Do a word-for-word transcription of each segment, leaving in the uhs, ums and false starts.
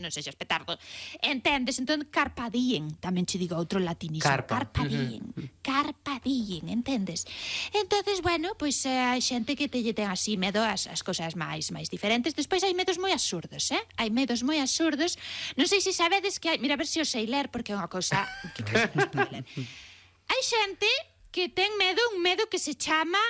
non sexas petardo. Entendes? Entón, carpa diem, tamén che digo outro latinismo. Carpa. Carpa diem. Carpa diem, entendes? Entonces, bueno, pois eh, hai xente que te lle ten así medo as, as cosas máis máis diferentes. Despois hai medos moi absurdos, eh? Hai medos moi absurdos. Non sei se sabedes que hai... Mira, a ver se o sei ler, porque é unha cosa... que cosa non se pode ler. Hai xente que ten medo, un medo que se chama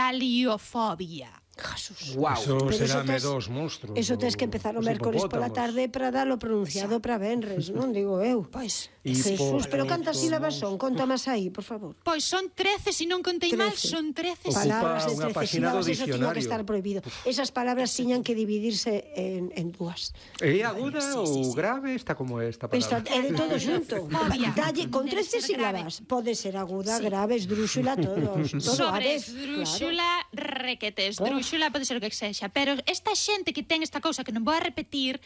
hipopotomonstruesquipedaliofobia. Jesús. Wow. Eso Pero será eso tes- medos monstruos. Eso tes que empezar o mércores pola tarde para dalo pronunciado para venres, non digo eu. Pois, Jesús, pero cantas Hipo- sílabas son? Conta máis aí, por favor. pois son trece, se non contei mal, Trece. son trece. Ocupa Palabras de unha trece páxina do sílabas, eso tiña que dicionario. estar prohibido. Esas palabras tiñan que dividirse en, en dúas. É aguda Sí, ou sí, sí. grave? Está como esta Esta, palabra. é de todo xunto. Fobia. Dalle, con Debe trece ser grave. sílabas. Pode ser aguda, Sí. grave, esdrúxula, todos. Todo a Sobre vez. esdrúxula, requete esdrúxula, pode ser o que sexa, pero esta xente que ten esta cousa que non vou a repetir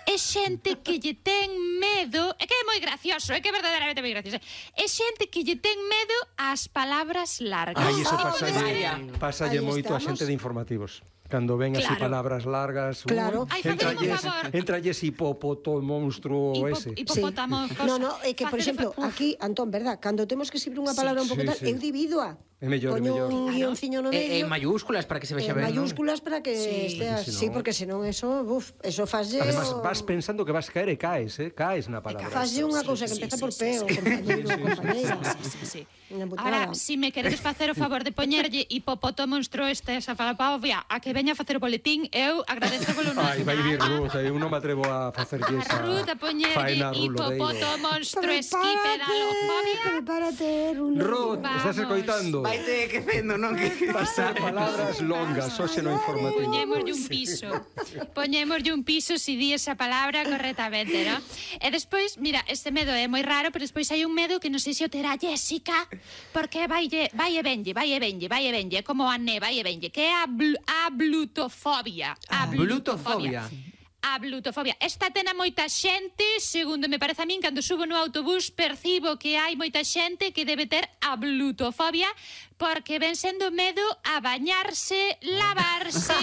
é xente que lle ten medo, é que é moi gracioso, é que é verdadeiramente moi gracioso, é xente que lle ten medo ás palabras largas. Ai, eso Ah, pasalle, pasalle Aí moito a estamos. xente de informativos. Cando ven así Claro. palabras largas, Claro. Ai, facedme un favor. entralles hipopoto monstruo Hipo- ese. hipopótamo, Sí. cosa. No, no, é que, por Facede- exemplo, Uf. aquí, Antón, verdad, cando temos que escribir unha palabra un pouco Sí, tal, sí. eu divido-a. É mellor, é Poño mellor. un Claro. guionciño no E, medio. en mayúsculas para que se vexa En ben, non? mayúsculas para que Sí. estea, Porque sí, senón- porque senón eso, uf, eso faslle Además, o- vas pensando que vas caer e caes, eh? Caes na palabra. faslle unha Sí, cousa que sí, empeza sí, por sí, P, sí. o compañeiro, o compañeira. Sí, sí, sí. Unha putada. Ahora, si me queredes facer o favor de poñerlle hipopoto monstruo este esa falapavia a que veña a facer o boletín, eu agradezo polo non. Ai, vai vir Ruth, eu non me atrevo a facer A esa Ruth a poñerlle faena hipopoto rulodeiro. monstruo esquipedalofobia. Prepárate, Rulo. Ruth, estás Vamos. escoitando? Vaite quecendo, non? Que... Pasar palabras longas, hoxe no informativo. Poñémoslle un piso. Poñémoslle un piso si di esa palabra correctamente, ¿no? E despois, mira, este medo é moi raro, pero despois hai un medo que non sei se o terá Jessica, porque vai vai e venlle, vai e venlle, vai e venlle, como a ne, vai e venlle, que é a, bl a blutofobia. A Blutofobia. A blutofobia. Esta ten a moita xente, segundo me parece a min, cando subo no autobús percibo que hai moita xente que debe ter a blutofobia porque ven sendo medo a bañarse, lavarse,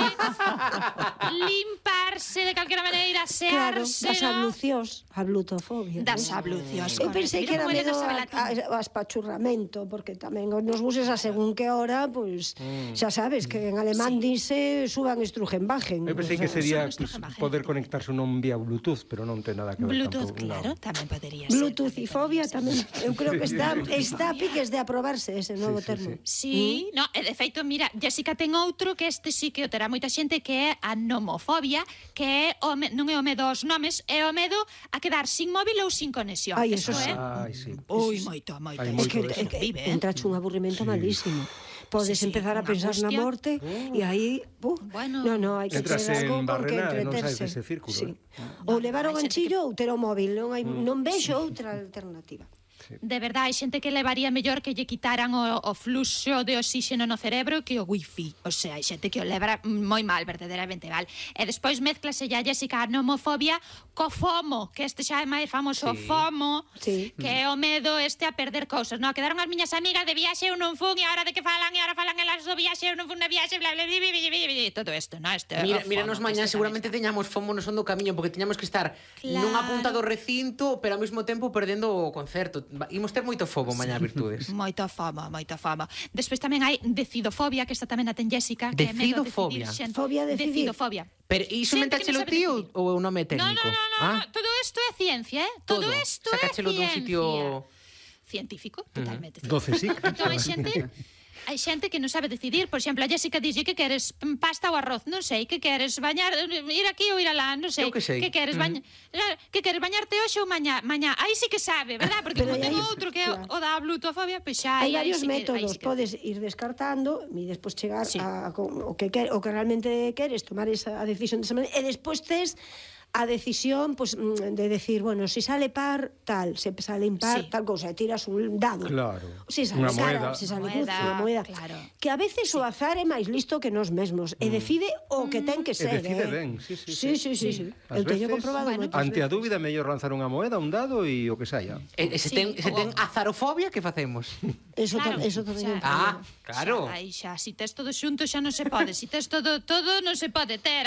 limparse de calquera maneira, Claro, asearse, das ¿no? ablucións, a blutofobia. Das ¿no? ablucións, Eu correcto. pensei Mira que era como ele medo non sabe a, latín. a, a espachurramento, porque tamén nos buses a según que hora, pois, pues, xa sabes, que en alemán Sí. dice suban estrugenbagen. Eu pensei O que sea, sería Son pues, estos poder conectarse non vía Bluetooth, pero non ten nada que ver Bluetooth, tampouco, claro, no. tamén podería ser. Bluetooth y fobia tamén. Eu creo que está, Sí. está a piques de aprobarse ese novo sí, termo. Sí, no, e de feito, mira, Jessica ten outro que este sí que o terá moita xente, que é a nomofobia, que é o me, non é o medo aos nomes, é o medo a quedar sin móvil ou sin conexión. Ai, eso sí. é. Ai, sí. Ui, moito, moito. Hai É moito que, de é eso. que vive, eh? entrache un aburrimento malísimo. Podes Sí, sí, empezar a unha pensar na angustia. morte e aí, uh, Bueno. no, no, hai que Entras ter algo en con que barrena e non entreterse. saes dese círculo, Sí. eh. Ou levar o hai xente ganchillo ou ter o móvil, non hai non vexo outra alternativa. De verdade, hai xente que levaría mellor que lle quitaran o, o fluxo de oxígeno no cerebro que o wifi. O sea, hai xente que o leva moi mal, verdadeiramente mal. E despois mezclase ya, Jessica, a nomofobia co FOMO, que este xa é máis famoso, Sí. FOMO, Sí. que é o medo este a perder cousas, no? Quedaron as miñas amigas de viaxe, eu non fun, e agora de que falan, e agora falan elas do viaxe, eu non fun na viaxe, bla, bla, bla, bla, bla, bla, bla, todo isto, no? Este, Mira, o míranos FOMO, mañá este seguramente tamén. teñamos fomo no son do camiño porque teñamos que estar Claro. nunha punta do recinto, pero ao mesmo tempo perdendo o concerto. Va- Imos ter moito fomo mañá, Virtudes. Moito fama, moito fama. Despois tamén hai decidofobia, que esta tamén a ten Jessica, que é medo a decidir Decidofobia. xente. Fobia a decidir. Decidofobia. Pero iso Xente que mentáchelo non sabe ti ou, decidir. ou é un nome No, técnico? no, no, no, ah? no, todo isto é ciencia, eh? Todo, Todo. isto Sacáchelo é dun ciencia. sitio- Científico, totalmente. Doce sí. Entón hai xente, hai xente que non sabe decidir. Por exemplo, a Jessica dixe que queres mm, pasta ou arroz, non sei, que queres bañar, ir aquí ou ir alá, non sei. Eu que sei. Que queres bañar, que queres bañarte hoxe ou mañá, mañá. Aí sí que sabe, verdad? Porque Pero como aí- ten outro que é claro. o da blutofobia, pois xa Hai aí- aí varios sí que- aí métodos, sí que- podes ir descartando e despois chegar Sí. a, a o que quer, o que realmente queres, tomar esa a decisión desa maneira, e despois tes a decisión pues, de decir, bueno, si sale par, tal, se sale impar, Sí. tal cousa, e tiras un dado. Claro. Si sale Unha cara, moeda. se sale Moeda, cruz, unha moeda. claro. Que a veces o azar é máis listo que nós mesmos, e decide o que ten que E ser, decide eh. ben, sí, sí, Sí, sí. sí, sí, sí. Ás Eu teño veces, comprobado bueno, moitas Ante a veces. dúbida, é mellor lanzar unha moeda, un dado e o que saia. E, e se Sí, ten, se o- ten azarofobia, que facemos? Eso, Claro, tam- eso tamén é un xa. Ah, problema. claro. Xa, aí xa, si tes todo xunto xa non se pode, si tes todo todo non se pode ter.